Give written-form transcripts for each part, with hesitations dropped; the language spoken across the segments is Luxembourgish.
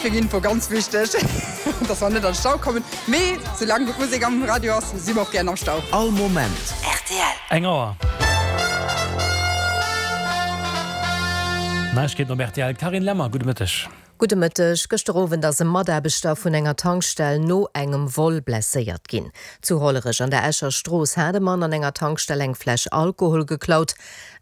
Fir Info ganz wichteg, dass mer net an Stau kommen, mee soulaang gutt Musek am Radio ass, si mer och gären am Stau. All Moment. Rtl. Eng Auer. Neiegkeeten op rtl, Carine Lemmer, gudde Mëtteg. Gudde Mëtteg. Gëschter Owend ass e Mataarbechter vun enger Tankstell no engem Vol blesséiert ginn. Zu Hollerech an der Escher Strooss hat e Mann an enger Tankstell eng Fläsch Alkohol geklaut.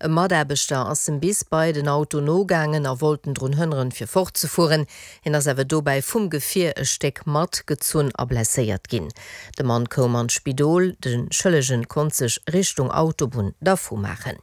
E Mataarbechter ass em bis bei den Auto nogaangen a wollt en drun hënneren, fir fortzefueren. Hien ass awer dobäi vum Gefier e Stéck matgezunn a blesséiert ginn. De Mann koum an d'Spidol, de Schëllegen konnt sech Richtung Autobunn dervu maachen.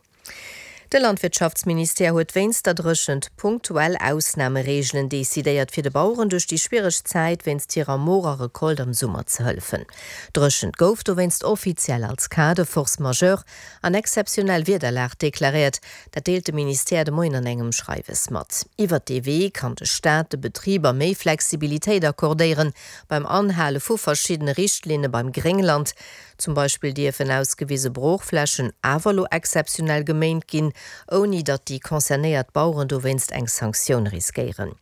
De Landwirtschaftsministère huet wéinst der Dréchent punktuell Ausnamereegelen decidéiert, fir de Baueren duerch déi schwiereg Zäit wéinst hirer morer Recolte am Summer ze hëllefen. D'Dréchent gouf dowéinst offiziell als Cas de force majeure an exzeptionell Wiederlag deklaréiert. Dat deelt de Ministère de Moien an engem Schreiwes mat. Iwwert dee Wee kann de Staat de Betriber méi Flexibilitéit accordéieren beim Anhale vu verschiddene Richtlinne beim Gréngland. Zum Beispill dierfen ausgewise Broochflächen awer elo exzeptionell geméint ginn, ouni datt déi concernéiert Baueren dowéinst eng Sanktioun riskéieren.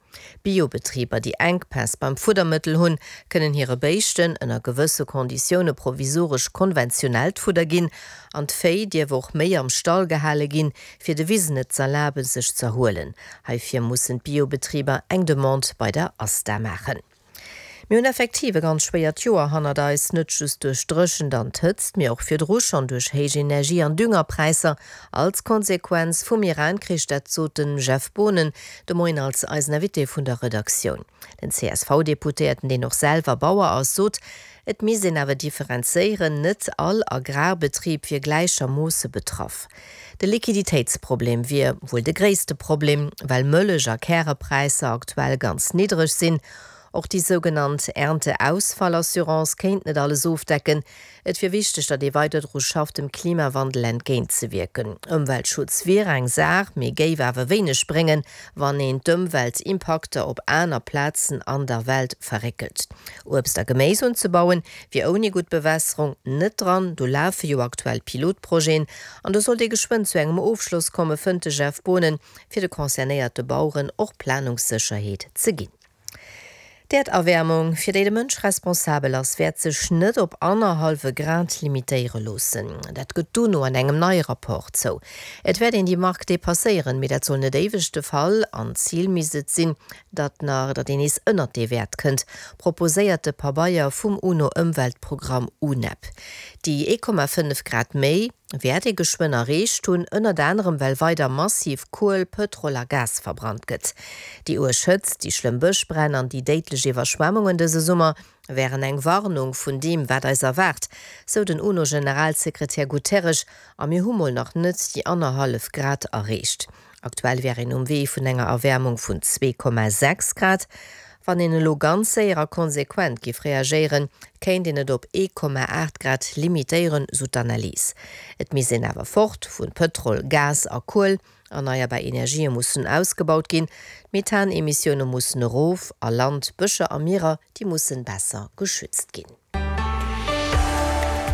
Biobetriber, déi Enkpäss beim Fuddermëttel hunn, kënnen hire Béischten ënner gewësse Konditioune provisoresch konventionellt Fudder ginn. An d'Véi dierf och méi am Stall gehale ginn, fir de Wisen et z'erlaben, sech z'erhuelen. Heifir mussen d'Biobetriber eng Demande bei der ASTA maachen. Mir hunn effektiv e ganz schwéiert Joer hannert eis, net just duerch d'Dréchent an d'Hëtzt, mee och virdru schonn duerch héich Energie an Düngerpräisser als Konsequenz vum Iran-Krich. Dat sot de Jeff Boonen de Moien als eisen Invité vun der Redaktioun. Den CSV-Deputéierten, deen och selwer Bauer ass, sot, et misst een awer differenzéieren, net all Agrarbetrib wier gläichermoosse betraff. De Liquiditéitsproblem wier wuel de gréisste Problem, well Mëllech a Kärepräisser aktuell ganz niddreg sinn. Och déi sougenannt Ernteausfallassurance kéint net alles ofdecken. Et wier wichteg, datt ee weider dru schafft, dem Klimawandel entgéintzewierken. Ëmweltschutz wier eng Saach, mee géif awer wéineg bréngen, wann een d'Ëmweltimpakter op aner Plazen an der Welt verréckelt. Uebst a Geméis unzebauen, wier ouni gutt Bewässerung net dran. Do lafe jo aktuell Pilotprojeten an do sollt ee geschwënn zu engem Ofschloss komme, fënnt de Jeff Boonen, fir de concernéierte Baueren och Planungssécherheet ze ginn. D'Äerderwäermung, fir déi de Mënsch responsabel ass, wäert sech net op annerhallwe Grad limitéiere loossen. Dat gëtt d'UNO an engem neie Rapport zou. Et wäert een déi Mark depasséieren, mee dat soll net éiweg de Fall an d'Zil misst et sinn, datt nach datt een nees ënnert dee Wäert kënnt, proposéiert de Pabeier vum UNO-Ëmweltprogramm UNEP. Déi 1,5 Grad méi wäert ee geschwënn erreecht hunn, ënnert anerem well weider massiv Kuel, Pëtrol a Gas verbrannt gëtt. Déi uerg Hëtzt, déi schlëmm Bëschbränn an déi déidlech Iwwerschwemmungen dëse Summer wären eng Warnung vun deem, wat eis erwaart, sou den UNO-Generalsekretär Guterres. A mir hu mol nach net déi annerhallef Grad erreecht. Aktuell wär een um Wee vun enger Erwäermung vun 2,6 Grad. Wann een elo ganz séier a konsequent giff reagéieren, kéint een et op 1,8 Grad limitéieren, sou d'Analys. Et misst een awer fort vun Pëtrol, Gas a Kuel. Erneierbar Energië mussen ausgebaut ginn, d'Methanemissioune mussen erof a Land, Bëscher a Mierer, déi mussen besser geschützt ginn.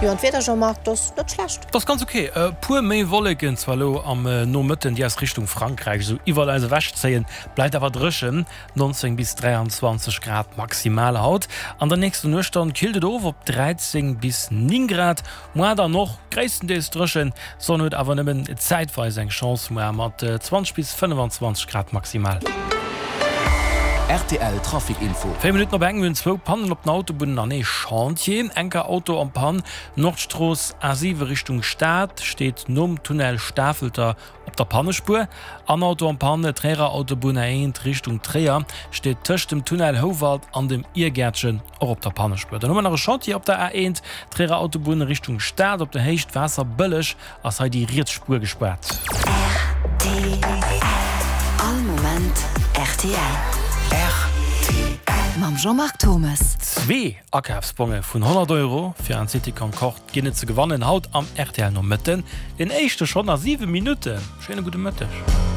Jo, an d'Wieder, Jean-Marc, 't ass net schlecht. 't ass ganz ok. E puer méi Wolleken zwar elo am Nomëtten, déi aus Richtung Frankräich esou iwwert eis ewech zéien, bleift awer dréchen, 19 bis 23 Grad maximal haut. An der nächster Nuecht dann killt et of op 13 bis 9 Grad. Moar dann och gréisstendeels dréchen, d'Sonn huet awer nëmmen zäitweis eng Chance, moar mat 20 bis 25 Grad maximal. Rtl Trafic Info. 4 Minutten op eng, mir hunn zwou Pannen op den Autobunnen an ee Chantier. Enker Auto en Panne, Nordstrooss A7 Richtung Stad, steet nom Tunnel Stafelter op der Pannespuer. An Auto en Panne, Tréierer Autobunn A1 Richtung Tréier, steet tëscht dem Tunnel Houwald an dem Iergäertchen och op der Pannespuer. Dann hu mer nach e Chantier op der A1 Tréierer Autobunn Richtung Stad, op der Héicht Waasserbëlleg ass hei déi riets Spuer gespaart. Rtl All Moment rtl. Rtl. Mam Jean-Marc Thomes. Zwee Akafsbonge vun 100 Euro fir an d'City Concorde ginn et ze gewannen haut am rtl Nomëtten. Deen éischte schonn a 7 Minutten. Schéine gudde Mëtteg.